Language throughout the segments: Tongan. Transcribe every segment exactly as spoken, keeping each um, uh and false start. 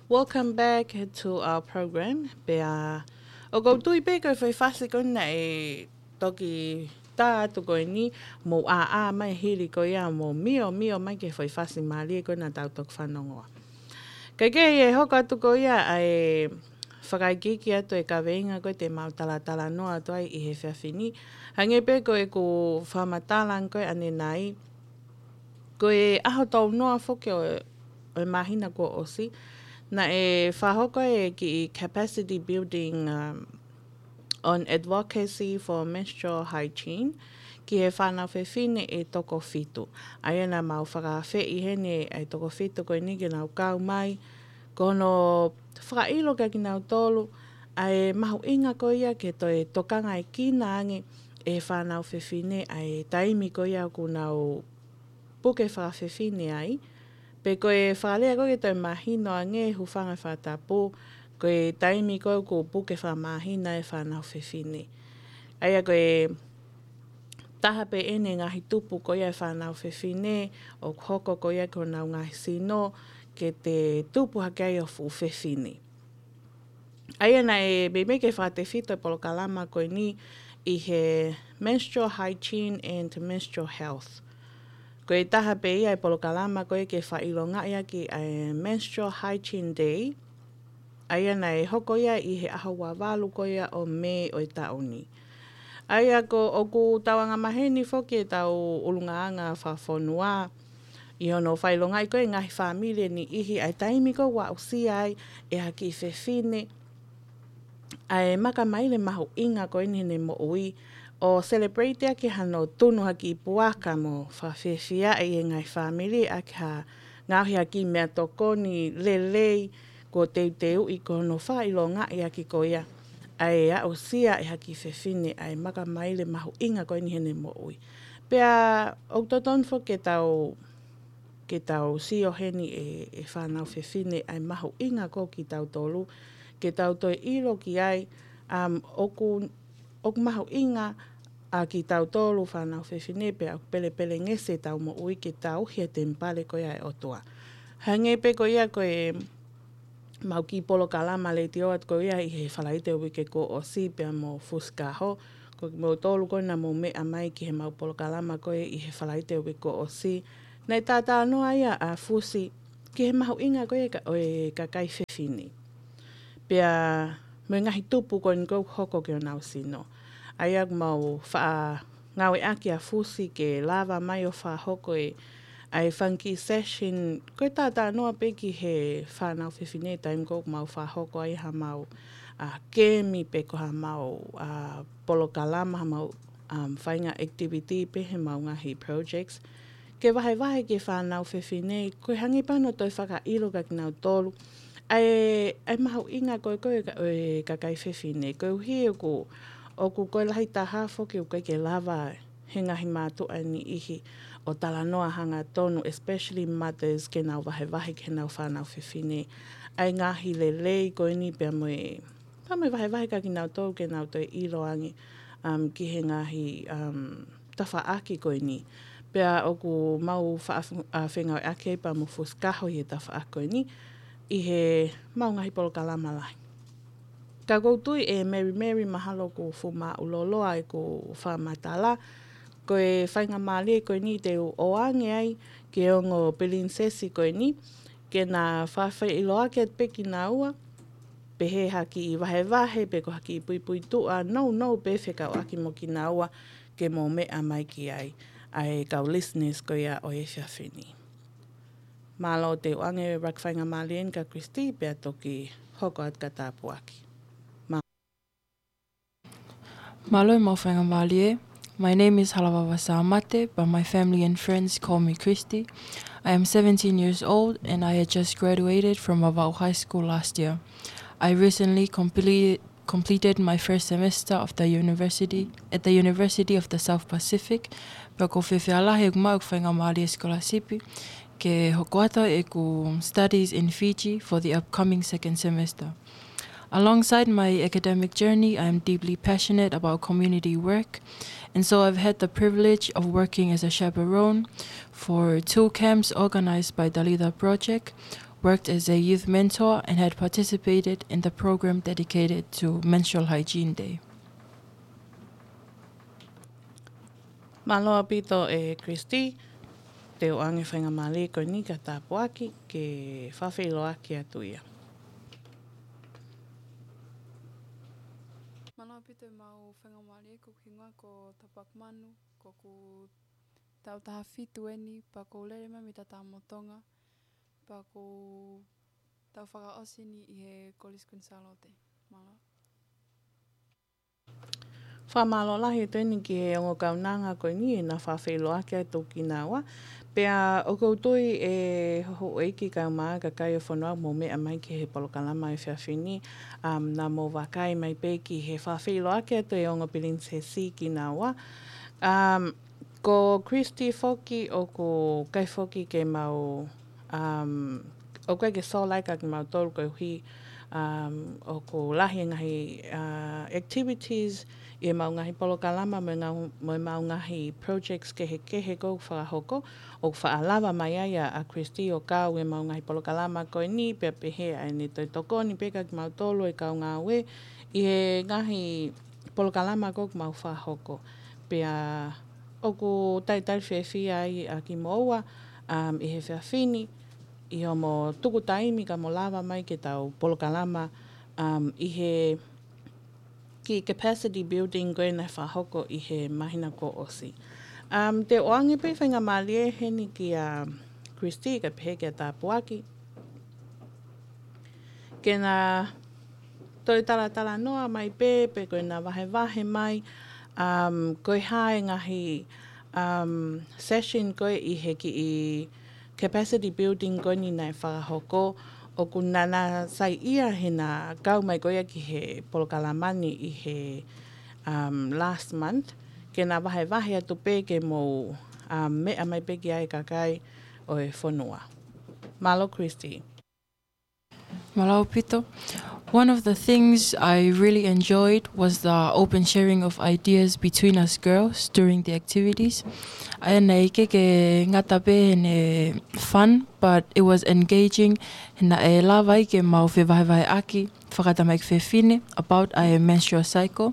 Welcome back to our program. Pea ʻoku ou tui pē ko e foʻi fasi ko ena ʻe toki tā atu ko eni, mou ʻāʻā mai hili ko ia, mou miomio mai ki he foʻi fasi mālie ko ena tau toki fanongoa. Kae kehe ʻe hoko atu ko ia ʻa e fakaikiiki atu e kaveinga ko e te mau talatalanoa atu ai ʻi he efiafi ni. Hangē pē ko ʻeku fakamatala ko e ʻanenai, ko e ʻaho tolu noa foki ʻo, ʻo e māhina kuo ʻosi, naʻe fakahoko e kiʻi capacity building, um, on advocacy for menstrual hygiene ki he fānau fefine ʻe toko fitu. ʻA ia naʻa mau fakaafeʻi heni ʻa e toko fitu ko eni ke nau kau mai, ko hono fakaʻilo kia kinautolu ʻa e mahuʻinga ko ia ke toe tokangaʻekina ange ʻe he fānau fefine ʻa e taimi ko ia ʻoku nau puke fakafefine ai, pe ko e fakalea ko ē ke toe mahino ange, hūfanga he fakatapu, ko e taimi ko ē ʻoku puke fakamāhina e fānau fefine. ʻA ia ko e taha pē eni e ngaahi tupu ko ia e fānau fefine, ʻoku hoko ko ia ki honau ngaahi sino, ke te tupu hake ai ʻo fuʻu fefine. ʻA ia naʻe meimei ke fakatefito e polokalama ko eni ʻi he menstrual hygiene and menstrual health. Ko e taha pē ia e polokalama ko ē ke fakaʻilongaʻi ʻaki ʻa e Menstrual Hygiene Day. ʻA ia naʻe hoko ia ʻi he ʻaho ua valu ko ia ʻo Mē ʻo e taʻu ni. ʻA ia ko ʻoku tau angamaheni foki e tau ʻulungaanga fakafonua ʻi hono fakaʻilongaʻi ko e ngaahi fāmili ʻe niʻihi ʻa e taimi ko ē ʻoku aʻusia ai ʻe ha kiʻi fefine ʻa e makamaile mahuʻinga ko eni heʻene moʻui, ʻo celebrate ʻaki hano tunu ha kiʻi puaka mo fakafiefiaʻi e ngaahi fāmili ʻaki ha ngaohi ha kiʻi meʻatokoni lelei kuo teuteuʻi ko hono fakaʻilongaʻi ʻaki ko ia ʻa e aʻusia ʻe ha kiʻi fefine ʻa e makamaile mahuʻinga ko eni heʻene moʻui. Pea ʻoku totonu foki ke tau, ke tau sio heni ʻe, ʻe fānau fefine ʻa e mahuʻinga ko kitautolu, ke tau toe ʻilo ki ai, um, ʻoku, ʻoku mahuʻinga ʻa kitautolu fānau fefine pea ʻoku pelepelengesi ʻetau moʻui ke tauhi e temipale ko ia ʻo e ʻOtua. Hangē pē ko ia ko e mau kiʻi polokalama letiō atu ko ia ʻi he Falaite uike kuo ʻosi pea mo Fusikaho. Ko kimoutolu ko ē naʻa mou meʻa mai ki he mau polokalama ko ē ʻi he Falaite uike kuo ʻosi, naʻe talanoa ia ʻa Fusi ki he mahuʻinga ko ia ka, ʻo e kakai fefine. Pea mo e ngaahi tupu ko eni ʻoku hoko ki honau sino. ʻA ia ʻoku mau faʻa ngāueʻaki ʻa Fusi ke lava mai ʻo fakahoko e, ʻa e fanga kiʻi session, ko e talanoa pē ki he fānau fefine taimi ko ē ʻoku mau fakahoko ai ha mau, ʻa, kemi pe ko ha mau, ʻa, polokalama, ha mau, um, faʻahinga activity pe he mau ngaahi projects. Ke vahevahe ki he fānau fefine, ko e hangē pē hano toe fakaʻilo kia kinautolu ʻa e, ʻa e mahuʻinga ko ē ko e ka, ʻo e kakai fefine, koeʻuhi ʻoku, ʻoku ko e lahi taha foki ʻoku ʻikai ke lava he ngaahi mātuʻa ʻe niʻihi ʻo talanoa hangatonu, especially mothers, ke nau vahevahe ki heʻenau fānau fefine ʻa e ngaahi lelei ko eni pea mo e, pea mo e vahevahe kia kinautolu ke nau toe ʻilo ange, um, ki he ngaahi, um, tafaʻaki ko eni. Pea ʻoku mau faʻa, ʻa, fengāueʻaki ai pea mo Fusikaho ʻi he tafaʻaki ko eni ʻi he mau ngaahi polokalama lahi. Ka ʻoku ou tui ʻe Mary Mary mahalo ʻoku fuʻu māʻuloloa ʻeku fakamatala, ko e faingamālie ko eni te u ʻoange ai ki he ongo pilinisesi ko eni, ke na fakaʻiloaki atu pē kinaua, pehē ha kiʻi vahevahe, pe ko ha kiʻi puipuituʻa nounou pē fekauʻaki mo kinaua ke mou meʻa mai ki ai, ʻa e kau listeners ko ia ʻo e efiafi ni. Mālō, te u ʻoange ʻeku faingamālie ni kia Christy, pea toki hoko atu ki he tāpuaki. Mā- Mālō e maʻu faingamālie. My name is Halavava Sāmate, but my family and friends call me Christy. I am seventeen years old and I had just graduated from Vavaʻu High School last year. I recently completed, completed my first semester of the university, at the University of the South Pacific. Pea ʻoku ou fiefia lahi ʻeku maʻu ʻeku faingamālie scholarship ke hoko atu ʻeku studies in Fiji for the upcoming second semester. Alongside my academic journey, I am deeply passionate about community work, and so I've had the privilege of working as a chaperone for two camps organized by Talitha Project, worked as a youth mentor and had participated in the program dedicated to Menstrual Hygiene Day. Mālō ʻaupito ʻe Christy, te u ʻoange faingamālie ko eni ki he tāpuaki ke fakafeʻiloaki atu ia. Mālō ʻaupito ʻemau faingamālie, ko hoku hingoa ko Tapuaki Manu, ko hoku taʻu taha fitu eni, pea ʻoku ou lele mai mei Tatamotonga, pea ʻoku ou taʻu fakaʻosi eni ʻi he Kolisi Kuini Sālote. Mālō. Fakamālō lahi atu eni ki he ongo kaunanga ko eni ʻi heʻena fakafeʻiloaki atu kinaua. Pea ʻoku ou tui ʻe houʻeiki kaeʻumaʻā kakai ʻo e fonua ʻoku mou meʻa mai ki he polokalama he efiafi ni, um, naʻa mou vakai mai pē ki he fakafeʻiloaki atu ʻe he ongo pilinisesi kinaua. Um, ko Christy foki ʻoku ʻikai foki ke mau, um, ʻoku ʻikai ke sola ia kiate kimautolu koeʻuhi, um, ʻoku lahi e ngaahi, uh, activities ʻi heʻemau ngaahi polokalama mo e ngau-, mo ʻemau ngaahi projects kehekehe ʻoku fakahoko, ʻoku faʻa lava mai ai ʻa, ʻa Christy ʻo kau ʻi heʻemau ngaahi polokalama ko eni, pea pehē ʻa ʻene toe tokoni pē kiate kimautolu ʻa e kau ngāue ʻi he ngaahi polokalama ʻoku mau fakahoko. Pea ʻoku talitali fiefia ai ʻa kimoua, um, ʻi he efiafi ni, ʻi hoʻomo tuku taimi ka mo lava mai ke tau polokalama, um, ʻi he kiʻi capacity building ko ē naʻe fakahoko ʻi he māhina kuo ʻosi. Um, te u ʻoange pē faingamālie heni kia Christy kae pehē kia Tāpuaki ke na toe talatalanoa mai pē, pe ko ʻena vahevahe mai, um, ko e hā e ngaahi, um, session ko ē ʻi he kiʻi capacity building ko eni naʻe fakahoko, ʻoku na, na saiʻia heʻena kau mai ko ia ki he polokalama ni ʻi he, um, last month, ke na vahevahe atu pē ke mou, um, meʻa mai pē ki ai kakai ʻo e fonua. Mālō, Christy. Mālō ʻaupito. One of the things I really enjoyed was the open sharing of ideas between us girls during the activities. ʻA ia naʻe ʻikai ke ngata pē heʻene fun, but it was engaging, he naʻe lava ai ke mau fevahevaheʻaki fakatamaiki fefine about ʻa e menstrual cycle.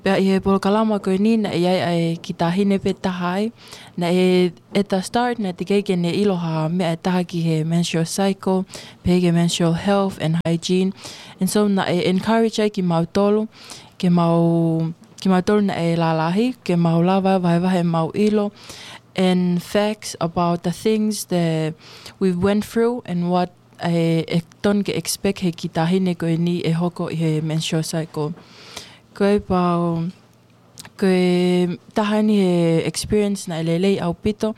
Pea ʻi he polokalama ko eni naʻe ʻi ai ʻa e kiʻi taʻahine pē taha ai. Naʻe, at the start, naʻe teʻeki ke ne ʻilo ha meʻa ʻe taha ki he menstrual cycle, pehē ki he menstrual health and hygiene. And so naʻe encourage ai kimautolu, ke mau, kimautolu naʻe lalahi, ke mau lava vahevahe ʻemau ʻilo and facts about the things that we went through and what ʻe, ʻe tonu ke expect he kiʻi taʻahine ko eni ʻe hoko ʻi he menstrual cycle. Ko e pau, ko e taha eni he experience naʻe lelei ʻaupito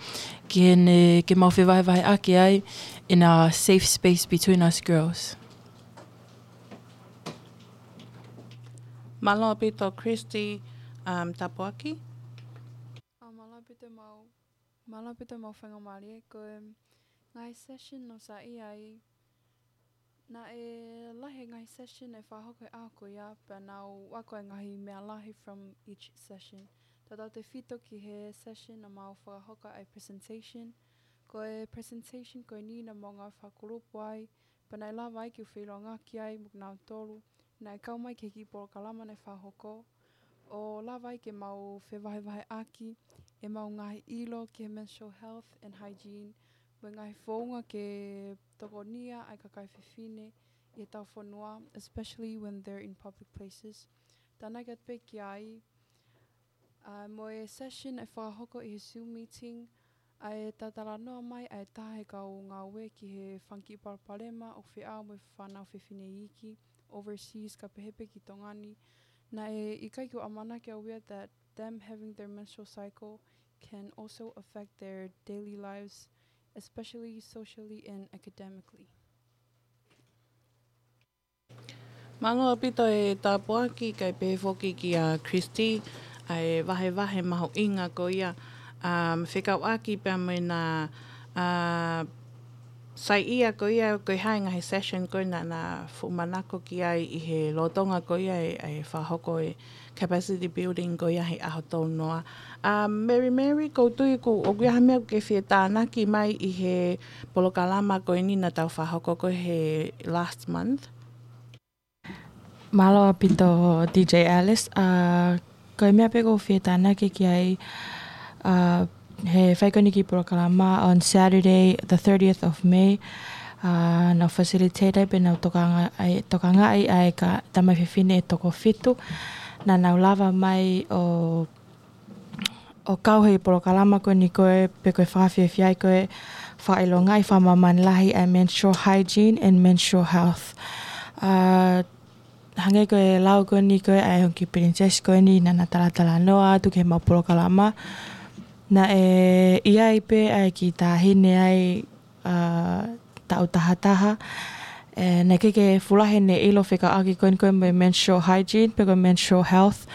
ki heʻene, ke mau fevahevaheʻaki ai in a safe space between us girls. Mālō ʻaupito Christy, um, Tāpuaki. ʻA, mālō ʻaupito ʻemau, mālō ʻaupito ʻemau faingamālie, ko e ngaahi session naʻa ku saiʻia ai, naʻe lahi e ngaahi session ʻe fakahoko he ʻaho ko ia, pea naʻa ku ako e ngaahi meʻa lahi from each session. Tautautefito ki he session naʻa mau fakahoko ai e presentation. Ko e presentation ko eni naʻa mau ngāue fakakulupu ai, pea naʻe lava ai ke u feʻiloaki ai mo kinautolu naʻe kau mai ki he kiʻi polokalama naʻe fakahoko, ʻo lava ai ke mau fevahevaheʻaki ʻemau ngaahi ʻilo ki he menstrual health and hygiene, mo e ngaahi founga ke tokonia ai e kakai fefine ʻi hotau fonua, especially when they're in public places. Tānaki atu pē ki ai, ʻa, mo e session ʻe fakahoko ʻi he Zoom meeting, ʻa e talatalanoa mai ʻa e taha he kau ngāue ki he fanga kiʻi palopalema ʻoku feʻao mo e fānau fefine iiki overseas kae pehē pē ki Tonga ni. Naʻe ʻikai ke u ʻamanaki au ia that them having their menstrual cycle can also affect their daily lives, especially socially and academically. Mālō ʻaupito e Tāpuaki, kae pehē foki kia Christy, ʻa e vahevahe mahuʻinga ko ia, um, fekauʻaki pea mo ʻena, uh, Saiʻia, ko ia ko e hā e ngaahi session ko ē naʻa na fuʻu manako ki ai ʻi he lolotonga ko ia e, e fakahoko e capacity building ko ia he ʻaho tolu noa. Um, Mary Mary, ʻoku ou tui ʻoku, ʻoku ʻi ai ha meʻa ʻoku ke fie tānaki mai ʻi he polokalama ko eni naʻa tau fakahoko ko ē he last month? Mālō ʻaupito, D J Alice. Uh, ko e meʻa pē ʻoku ou fie tānaki ki ai, uh, he fai ko eni kiʻi polokalama on Saturday, the thirtieth of May. Uh, nau facilitate ai pē nau tokanga, ai, tokangaʻi ai e kau tamaiki fefine ʻe toko fitu. Naʻa nau lava mai ʻo ʻo kau he polokalama ko eni ko ē, pe ko e fakafiefiaʻi ko ē, fakaʻilongaʻi fakamāmani lahi ʻa e menstrual hygiene and menstrual health. Uh, hangē ko e lau ko eni ko ē ʻa e ongo kiʻi princess ko eni naʻa na talatalanoa atu ki heʻemau polokalama. Naʻe ʻi ai pē ʻa e kiʻi taʻahine ai uh, taʻu taha taha. ʻE, naʻe ʻikai ke fuʻu lahi ʻene ʻilo fekauʻaki ko eni ko e mo e menstrual hygiene, pe ko e menstrual health.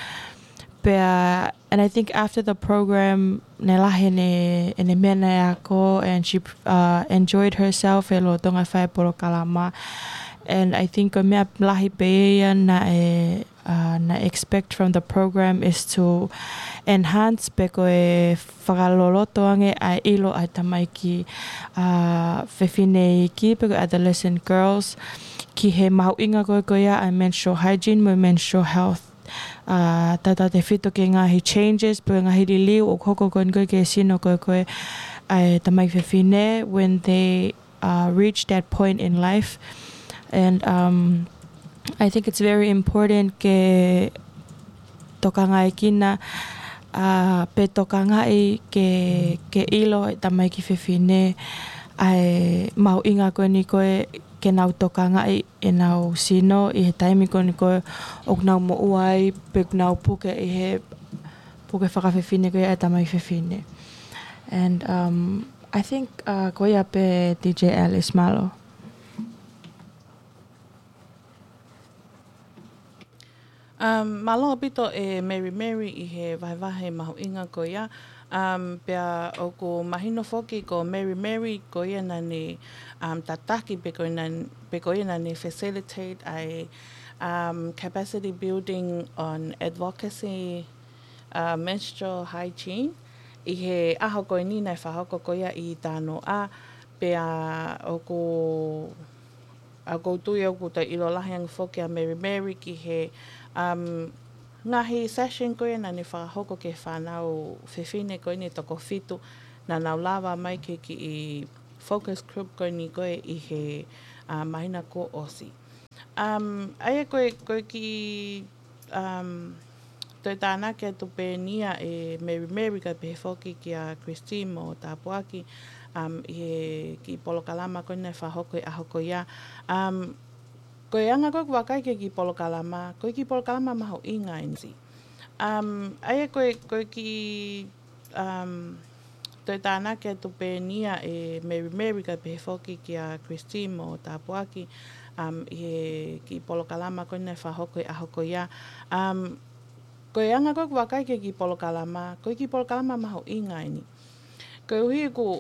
Pea, and I think after the program, naʻe lahi ʻene, ʻene meʻa naʻe ako, and she, uh, enjoyed herself he lolotonga e fai e polokalama. And I think ko e meʻa lahi pē ia naʻe uh, naʻe expect from the program is to enhance pe ko e fakaloloto ange ʻa e ʻilo ʻa e tamaiki, uh, fefine iiki pe ko e adolescent girls ki he mahuʻinga ko ē ko ia ʻa e menstrual hygiene mo e menstrual health. Uh, tautautefito ki he ngaahi changes pe ko e ngaahi liliu ʻoku hoko ko eni ko ē ki he sino ko ē ko ē ʻa e tamaiki fefine when they uh, reach that point in life. And, um, I think it's very important ke tokangaʻi kina, uh, pe tokangaʻi ke, ke ʻilo e tamaiki fefine ʻa e mahuʻinga ko eni ko ē ke nau tokangaʻi ʻenau sino ʻi he taimi ko eni ko ē ʻoku nau moʻua ai pe ʻoku nau puke ʻi he puke fakafefine ko ia ʻa e tamaiki fefine. And, um, I think, uh, ko ia pē D J Alice, mālō. Um, mālō ʻaupito e Mary Mary ʻi he vahevahe mahuʻinga ko ia. Um, pea ʻoku mahino foki ko Mary Mary ko ia naʻa ne, um, tataki pe ko ia naʻa, pe ko ia naʻa ne facilitate ʻa e, um, capacity building on advocacy uh, menstrual hygiene. ʻI he ʻaho ko eni naʻe fakahoko ko ia ʻi Tānoʻa, pea ʻoku, ʻoku ou tui ʻoku toe ʻilo lahi ange foki ʻa Mary Mary ki he, um, ngaahi session ko ia naʻa ne fakahoko ki he fānau fefine ko eni ʻe toko fitu naʻa nau lava mai ki he kiʻi focus group ko eni ko ē ʻi he, uh, māhina kuo ʻosi. Um, ʻa ia ko e, ko e kiʻi um, toe tānaki atu pē eni ia ʻe Mary Mary kae pehē foki kia Christine mo Tāpuaki, um, ʻi he kiʻi polokalama ko eni naʻe fakahoko he ʻaho ko ia. Um, ko e anga ko ē ʻoku vakai ki he kiʻi polokalama, ko e kiʻi polokalama mahuʻinga ʻeni. Um, ʻa ia ko e, ko e kiʻi um, toe tānaki atu pē eni ia ʻe Mary Mary kae pehē foki kia Christine mo Tāpuaki, um, ʻi he kiʻi polokalama ko eni naʻe fakahoko he ʻaho ko ia. Um, ko e anga ko ē ʻoku vakai ki he kiʻi polokalama, ko e kiʻi polokalama mahuʻinga ʻeni. Koeʻuhi ʻoku,